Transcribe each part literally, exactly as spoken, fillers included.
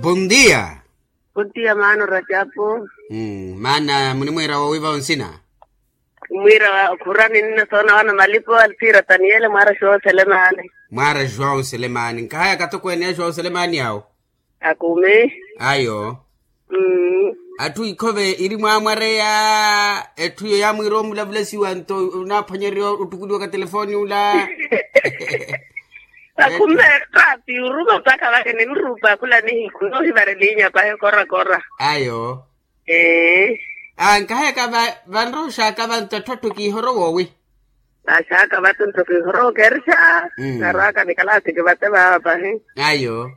Bondia. Bondia maana oracapu. Maana munimwiira woowiva onsina? Mwiira wa khurani nina soona wana malipo alfiira taniyele mwaara joão selemani. Mwaara joão selemani nkahaya katokweene ya joão selemani awo. Akume. Ayo. Atthu ikhove iri mwaamwareya. Etthu iyo yaamwiira omulavulasiwa nto onaaphwanyererya ottukuliwa ka telefoni ula. Akume. Rapi oruma mpakha vake ninrupa khula nihiku noohivarelinya pahi okorakora. Ayo. Ee. Nkahayaka vanroxaka vanto atthu atthu kiihoro woowi. Vaxaka vato nto kiihoro okeerixa. Narwaka nikalaasi kivate vaava pahi. Ayo.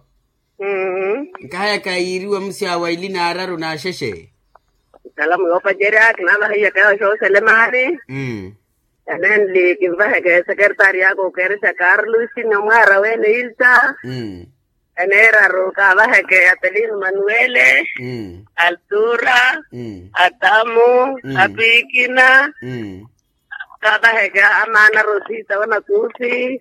Nkahayaka yiiriwa musyawa ili naararu naaxexe. Salamu yoopacerya kinavahiyaka yawo xooselemani. Enenli kinvaheke sekertari yaka okeerixa karlusi ni omwaara wene ilta. Eneeraru kaavaheke atelino manuele, altura, atamu, apikina. Kaavaheke amaana rosita wanakusi.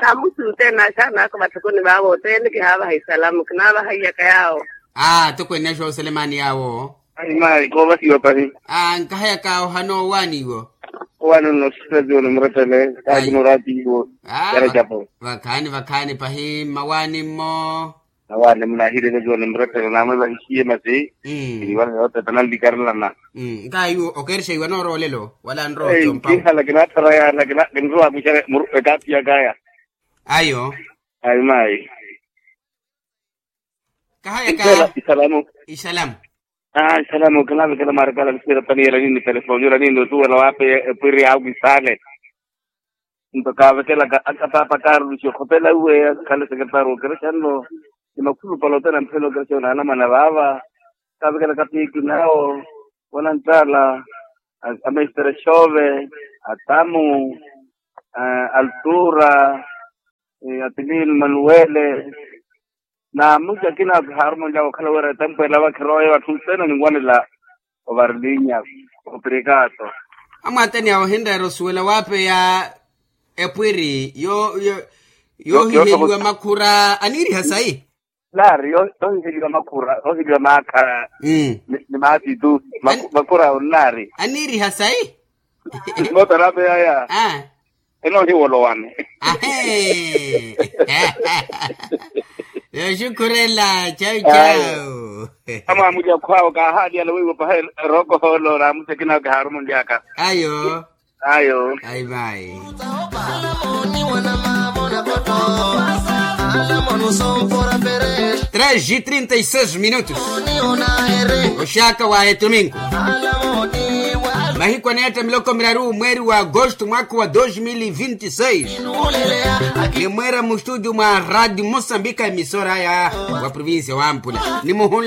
Namusi othene axaana ako vathukuni vaavo othene kihaavaha isalamu kinaavaha iyaka yaawo. Aa tokweene axooselemani yaawo. Ayi mayi koovasiwa pahi. Nkahayaka ohana owaani iwo. Owaani onnoosisela tiwo ni murettele. Kaakina oraati iwo. Yaracapo. Vakhaani vakhaani pahi mmawaani mmo. Nawaani munaahireke tiwo ni murettele naamwe vahixiye masi. Iniwana yootepa nanlikarelana. Nkaayi okeerixa iwa noorowa olelo wala nrowa. Kihala kinaattharayana kinrowa mwixa ekaathi yakaya. Ayo. Ayi mayi. Kahayaka. Isalamu. Isalamu. Aa isalamu kinaavekela mwaarikala nisiira paniyela niini telefoni ola niini osuwela waape epwiri yaawe isaale. Nto kaavekelaka aka paapa karulusi okhopela uwe akhale sekertari okerexa nno. Ni makhulupale othene amphela okerexa onaanamana vaava. Kaavekelaka piiki nawo, wananttaala, amestere xove, atamu, altura, atilini manuwele. Na musi akina kihaaruma onlyaka okhala wira etempo ela vakhirowa ya vatthu othene oninwanela. Ovarilinya opirikaato. Amwaatani awo ohinreera osuwela waapeya epwiri yoohiheliwa makhura aniiriha sayi. Naari yoohiheliwa makhura yoohiheliwa maakha ni maatitu. Makhura awo nnaari aniiriha sayi. Moota naapeyaya. Enoohiwolo wani. Ahee. Yooxukhurela chau chau. Amwaamulya khwaawo kaahaaliyala weiwo paha erokohoolo naamusi akina kihaaruma onlyaka. Ayo. Ayo. Ayi mayi. Treze e trinta e seis minutos. Oxaka wa etuminko. Mahiku aneetta miloko miraru mweeri wa agosto mwaka wa dos mil e vinte e seis. Ni mweera mustudio mwa radio mosambika emisora ya wa provincia wa ampula ni muhunla.